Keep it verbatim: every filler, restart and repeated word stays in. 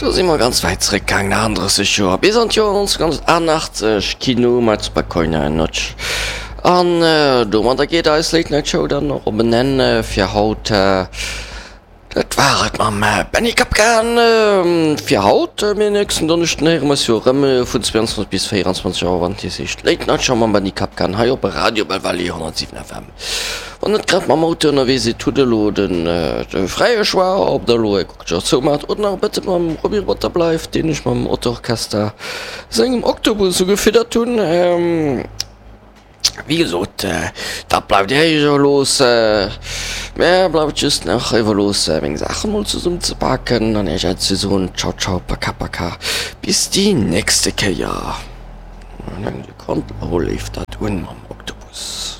Do si mer ganz wäit zeréckgaangen, achtendrësseg Joer, bis an d'Joer nonzénhunnertachtennachtzeg, Kino mat Spokojna Noc. An domadder geet eis Late Night Show dann och op en Enn fir haut. Dat war et mam Benny Kapkan fir haut. Mee nächsten Donneschden héiere mer eis jo erëm vun zweiundzwanzeg bis véieranzwanzeg Auer, wann et nees heescht Late Night Show mam Benny Kapkan hei op Radio Belval honnertsiwen F M. Wann net grad mam Auto ënnerwee sidd, hutt elo den de fräie Choix, ob der elo är Kuckcher zoumaacht oder nach e bësse mam Roby Roboter bleift, deen ech mam Auto-Orchester sengem Oktobus ugefiddert hunn. Wéi gesot, dat bleift Iech iwwerlooss. Mär bleift just nach iwwerlooss, meng Saachen mol zesummenzepaken an Iech Äddi ze soen. Ciao, ciao, paka, paka, bis déi nächste Kéier. Eng Sekonn, elo leeft dat un mam Oktobus.